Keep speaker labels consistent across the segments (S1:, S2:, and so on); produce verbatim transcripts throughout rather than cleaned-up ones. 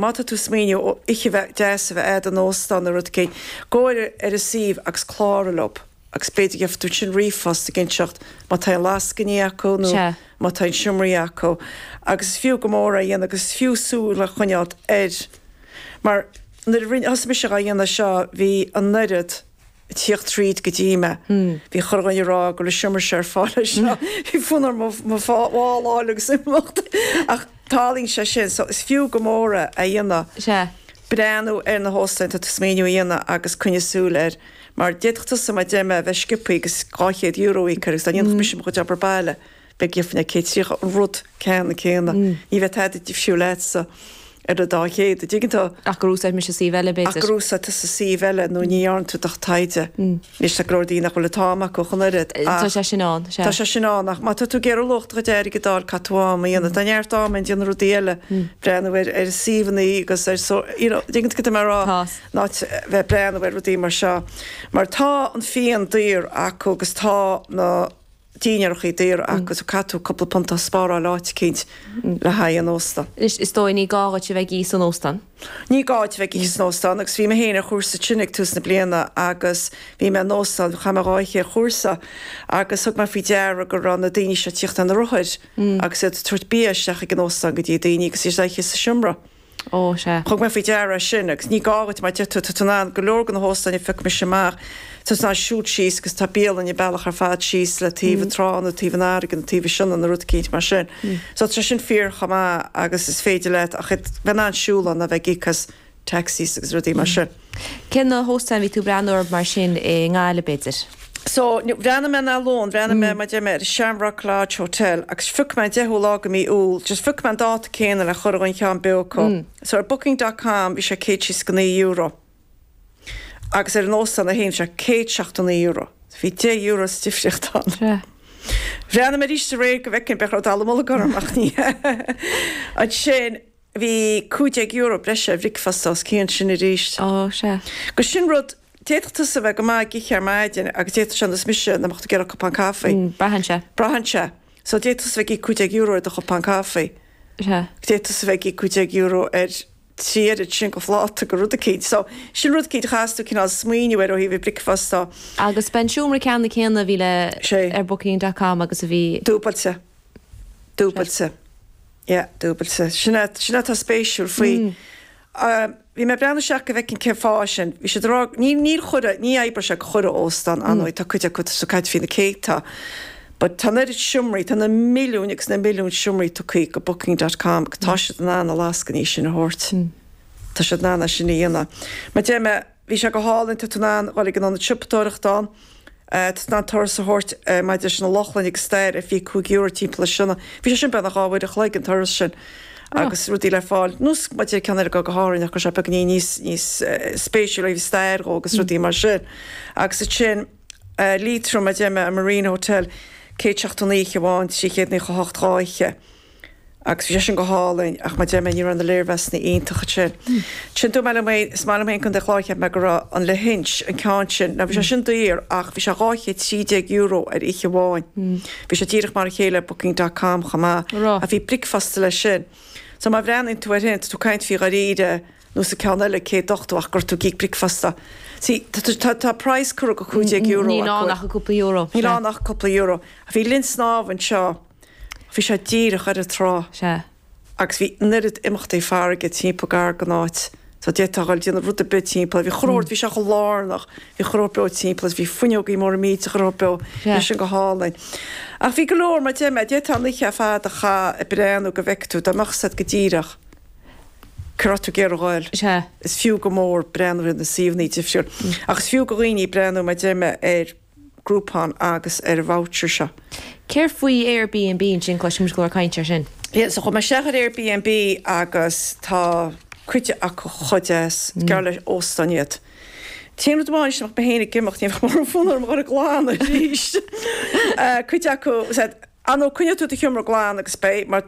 S1: Má tá tú smaoineamh ó oíche bheith deas a bheith agat in óstán nó rud éigin, gabh ar an suíomh agus cláraigh leo. Agus b'fhéidir gheobhaidh tú sin ríomhphost ag inseacht má tá lascainí acu nó
S2: Sea.
S1: má tá seomraí acu. Agus is fiú go mór é a dhéanamh agus is fiú súil a choinneáil air. Mar nuair a rinne thosaigh mise á dhéanamh seo bhí an oiread ag tíocht tríd go dtí mé. Bhí chuile dhuine ag rá go bhfuil seomra seo ar fáil seo. Bhí fonn orm mo mhála agus imeacht. Ach tarlaíonn sé sin, so is fiú go mór é a dhéanamh.
S2: Sea.
S1: Breathnú ar na hóstáin tá tú smaoineamh a dhéanamh agus coinnigh súil air. Mar d'fhéadfadh tusa mar deir mé bheith sciobtha agus dhá chéad euro íoc agus dá ndéanfadh mise mo chuid obair baile, beidh gheobhainn céad tríocha an rud ceanna céanna. Ní bheadh tada difriúil leatsa ar an dá chéad, an dtuigeann tú?
S2: Ach gur úsáid mise suíomh eile
S1: Ach
S2: b'fhéidir.
S1: gur úsáid tusa suíomh eile nó ní dhearna tú do taighde. Anois tá go leor daoine nach bhfuil an t-am acu chun oiread.
S2: Tá sé sin ann, sea.
S1: Tá sé sin ann ach má tá tú ag iarraidh luach do chuid airgid a fháil caithfidh tú am a dhéanamh. Tá neart am ann déanamh rudaí eile, breathnú ar ar suíomhanna agus ar so you know, dtuigeann tú cad tá mé a rá?
S2: Tá.
S1: Ná bheith breathnú ar rudaí mar seo. Mar tá an fíon daor acu agus tá na dinnéarachaí daor acu so caithfidh tú cúpla punt a spáráil áit eicínt le haghaidh an ósta.
S2: Is is dóigh ní gá duit a bheith ag ithe san óstán.
S1: Ní gá duit a bheith ag ithe san óstán agus bhí mé féin ar chúrsa tinn ag tús na bliana agus bhí mé in óstán chaith mé dhá oíche ar chúrsa agus thug mé faoi deara go raibh na daoine seo tíocht ar na rothair agus iad ag tabhairt bia isteach ag an óstán go dtí daoine agus iad ag ithe sa seomra.
S2: Ó sea.
S1: Thug mé faoi deara sin agus ní gá duit mar deir tú tá tú in ann go leor de na hóstáin a phioc mise amach tá tú in ann siúl síos agus tá bialann an bealach ar fad síos le taobh an trá nó taobh an fharraige nó taobh an Sionainn nó rud eicínt mar sin. So tá sin fíor chomh maith agus is féidir leat ach bheith in ann siúl ann a bheith ag íoc as taxis agus rudaí mar sin.
S2: Cén na hóstáin bhí tú breathnú orthu mar sin i nGaillimh b'fhéidir?
S1: So bhreathnaigh mé na lón, bhreathnaigh mé mar deir mé ar Shamrock Lodge Hotel agus phioc mé an deichiú lá de mí Iúil, just phioc mé an dáta céanna le chur an cheann beo acu. So ar booking dot com bhí sé céad tríocha naoi euro. Agus ar an óstán a haon sé céad seachtó naoi euro. Bhí deich euro sa difríocht ann.
S2: Sea.
S1: Bhreathnaigh mé arís aréir go bhfeicfinn b'fhéidir raibh dallamullóg orm ach ní. Ansin bhí cúig déag euro breise ar bhricfeasta os cionn sin arís.
S2: Ó sea.
S1: Go sin rud d'fhéadfadh tusa bheith go maith ag ithe ar maidin agus d'fhéadfadh sé nós mise na mbeadh tú ag iarraidh cupán caife.
S2: Braitheann sé.
S1: Braitheann sé. So d'fhéadfadh tusa bheith ag íoc cúig déag euro ar do chupán caife.
S2: Sea.
S1: D'fhéadfadh tusa bheith ag íoc cúig déag euro ar trí oiread sin go phláta go rud eicínt. So sin rud eicínt a chaithfeas tú cineál smaoineamh ar ó thaobh bricfeasta.
S2: Agus b'é an seomra ceanna céanna a bhí le
S1: Sé.
S2: ar booking dot com agus a bhí
S1: Dúbailte. Dúbailte. Yeah, dúbailte. Sin é sin atá spéisiúil faoi. Uh, Bhí mé breathnú isteach go bhfeicfinn cén fáth sin. Bhí siad rá ní ní chuile ní oibreoidh sé go chuile óstán anóid tá cuid acu sa caid faoi na céadta. But tá oiread seomraí tá na milliúin agus na milliún seomraí tugtha go booking dot com go tá siad in ann na lascainí sin a thabhairt. Tá siad in ann sin a dhéanamh. Mar deir mé bhí sé go hálainn tá tú in ann dul ag an ionad siopadóireachta ann, Tá an turas a thabhairt maidir leis na Lochlainn agus stair ar fiche cúig euro timpeall sinna. Bhí sé sin beagnach dhá uair a chloig an turas sin. Agus rudaí le fáil nós maidir ceann ar go go hárainn ach sé beagán níos níos spéisiúla bhí stair dhó agus rudaí mar sin. Agus sin Liatroim a deir mé an Marine Hotel céad seachtó naoi amháin trí chéad naocha hocht dhá oíche. Agus bhí sé sin go hálainn ach mar deir mé ní raibh na léirmheasanna iontach sin. Sin dú me mé is maith liom chun de chláir me go raibh an Lahinch an ceann sin, na bhí sé sin daor ach bhí sé dhá chéad trí déag euro ar oíche amháin. Bhí sé díreach mar a chéile booking dot com chomh maith
S2: Rá.
S1: A bhí bricfeasta leis sin. So má bhreathnaíonn tú ar hin tú caint faoi dháiríre nó sa ceann eile céad ochtó ach gur tú ag íoc bricfeasta. Sí tá tá price cur go cúig déag euro.
S2: Ní ná nach cúpla euro.
S1: Ní lá nach cúpla euro. A bhí linn snámh anseo bhí sé díreach ar an trá.
S2: Sea.
S1: Agus bhí oiread imeachtaí farraige timpeall gar don áit. So d'fhéadfá dul déanamh rud ar bith timpeall, bhí chróir bhí sé chomh lárnach, bhí chróir beo timpeall, bhí fuinneogaí móra millteacha chróir beo
S2: Sea.
S1: sin go hálainn. Ach bhí go leor mar deir mé d'fhéadfá an oíche fada a chaitheamh ag breathnú go bhfeicfidh tú dá mbeadh siad go díreach. Cará tú géar gháil.
S2: Sea.
S1: Is fiú go mór breathnú ar na suíomhanna difriúil. Ach is fiú go dhaoine breathnú mar deir mé ar Groupon agus ar voucher seo.
S2: Céard faoi Airbnb sin cloisim go leor caint ar sin.
S1: Yeah, so chuaigh mé isteach ar Airbnb agus tá cuid acu chomh deas gar le óstán iad. Téan rud amháin nach mé ag imeacht ní mar fonn orm a ghlanadh arís. Cuid acu an ó coinneoidh tú do sheomra glan agus beidh mar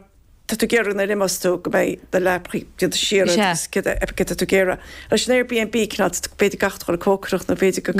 S1: tá tú ag iarraidh nuair a imeos tú go mbeidh do leapacha déanta siar
S2: Sea.
S1: agus cad é tú ag iarraidh. Leis an Airbnb cineál b'fhéidir gach dul cócaireacht nó b'fhéidir go